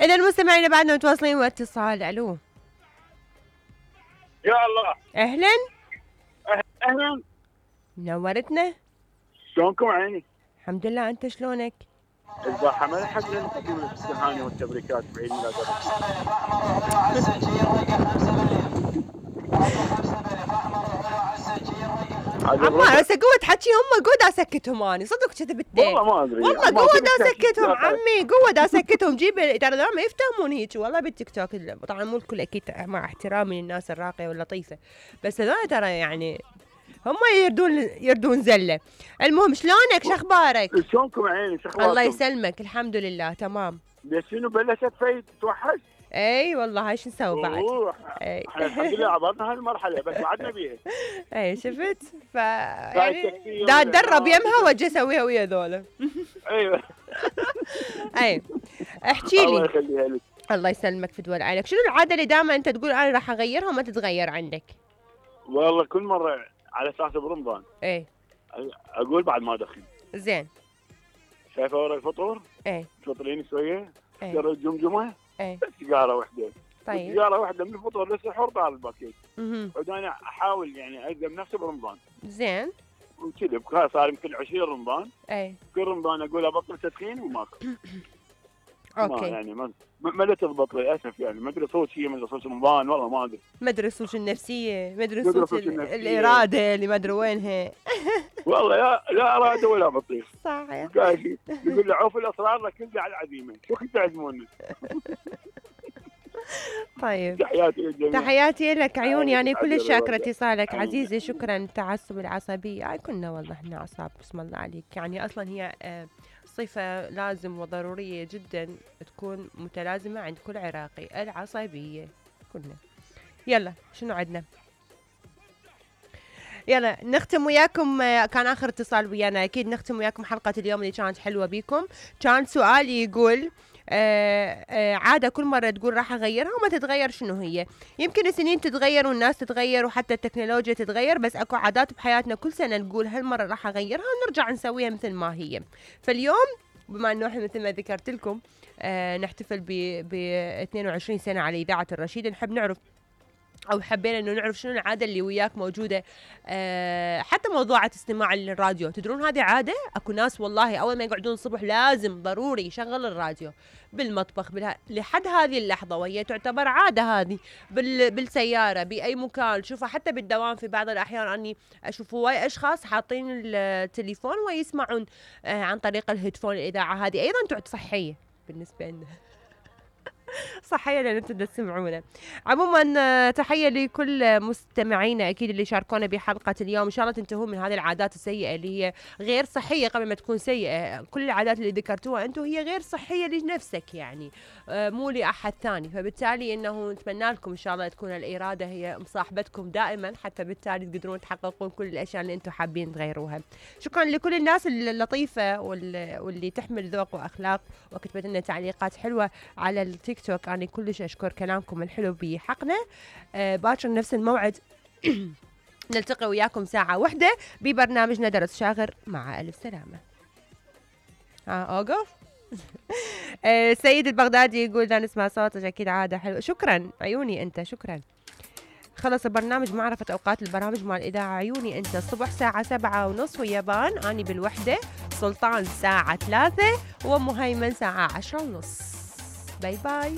إذا المستمعين بعدنا متواصلين واتصال. الو يا الله. اهلا اهلا. نورتنا. شلونكم عيني؟ الحمد لله، انت شلونك؟ البارحة ما لحقنا نقدم التهاني والتبريكات بعيد ميلاد عمار هسه قوة حكي هم قوة اسكتهم اني صدق كذبت. والله ما ادري والله قوة اسكتهم عمي، قوة اسكتهم. جيب ترى ما يفتهمون هيك والله بالتيك توك. طبعا مو الكل اكيد مع احترامي للناس الراقية واللطيفة، بس هذول ترى يعني هم يردون زله. المهم شلونك؟ شخبارك؟ شلونكم عيني؟ شخباركم؟ الله يسلمك، الحمد لله تمام. بس شنو بلشت فايد توحش؟ اي والله هاي شو نسوي بعد؟ احنا الحمد لله عبرنا هالمرحله بس بعدنا بيها. اي شفت؟ يعني دا اتدرب يمها واجي اسويها ويا ذولا. ايوه. اي احكي لي. الله يخليها لك. الله يسلمك في دول عينك. شنو العاده اللي دائما انت تقول انا راح اغيرها وما تتغير عندك؟ والله كل مره على اساس برمضان ايه اقول بعد ما ادخن. زين. شايفه ورا الفطور؟ ايه تفطرين شويه؟ ايه ترى الجمجمه؟ ايه سيجاره واحده. طيب سيجاره واحده من الفطور للسحور طال الباكيت. اها وانا احاول يعني الزم نفسي برمضان. زين. وكذا صار يمكن 20 رمضان. اي كل رمضان اقول ابطل تدخين وماكو. اوكي. يعني ما تضبط للاسف يعني ما ادري صوت شيء من صوت رمضان والله ما ادري. ما ادري الصوت النفسيه، ما ادري صوت الاراده اللي ما ادري وينها. والله لا اراده ولا بطيخ. صحيح. يقول له عوف الاسرار لكن على العزيمه، شو كنت تعزموني؟ طيب تحياتي للجميع. تحياتي لك عيوني، يعني كلش شاكره اتصالك عزيزي. شكرا. التعصب العصبيه كنا والله احنا اعصاب بسم الله عليك. يعني اصلا هي صفة لازم وضرورية جدا تكون متلازمة عند كل عراقي، العصبية كلنا. يلا شنو عندنا؟ يلا نختم وياكم. كان آخر اتصال ويانا، أكيد نختم وياكم حلقة اليوم اللي كانت حلوة بيكم. كان سؤالي يقول عادة كل مرة تقول راح أغيرها وما تتغير، شنو هي؟ يمكن السنين تتغير والناس تتغير وحتى التكنولوجيا تتغير، بس أكو عادات بحياتنا كل سنة نقول هالمرة راح أغيرها ونرجع نسويها مثل ما هي. فاليوم بما أنه إحنا مثل ما ذكرت لكم نحتفل ب 22 سنة على إذاعة الرشيد، نحب نعرف أو حبينا إنه نعرف شنو العادة اللي وياك موجودة. حتى موضوعة استماع للراديو، تدرون هذه عادة؟ أكو ناس والله أول ما يقعدون الصبح لازم ضروري يشغل الراديو بالمطبخ لحد هذه اللحظة، وهي تعتبر عادة هذه بالسيارة بأي مكان. شوفوا حتى بالدوام في بعض الأحيان أني أشوف هواي أشخاص حاطين التليفون ويسمعون عن طريق الهيدفون الإذاعة. هذه أيضا تعد صحية بالنسبة لنا. صحية لأن انتم تسمعونا. عموما تحية لكل مستمعينا أكيد اللي شاركونا بحلقة اليوم. إن شاء الله تنتهوا من هذه العادات السيئة اللي هي غير صحية قبل ما تكون سيئة. كل العادات اللي ذكرتوها أنتم هي غير صحية لنفسك يعني مو لأحد ثاني، فبالتالي إنه نتمنى لكم إن شاء الله تكون الإرادة هي مصاحبتكم دائما، حتى بالتالي تقدرون تحققون كل الأشياء اللي أنتم حابين تغيروها. شكرا لكل الناس اللطيفة واللي تحمل ذوق وأخلاق وكتبت لنا تعليقات حلوة على التيك توك. أنا كلش أشكر كلامكم الحلو بحقنا. باكر نفس الموعد نلتقي وياكم ساعة واحدة ببرنامجنا درس شاغر. مع ألف سلامة. أوقف. سيد البغدادي يقول لا نسمع صوتك أكيد عادة حلوة. شكرا عيوني أنت، شكرا. خلص البرنامج معرفة أوقات البرامج مع الإذاعة. عيوني أنت الصبح ساعة 7:30 ويابان، أني بالوحدة، سلطان ساعة 3 ومهيمن ساعة 10:30. باي باي.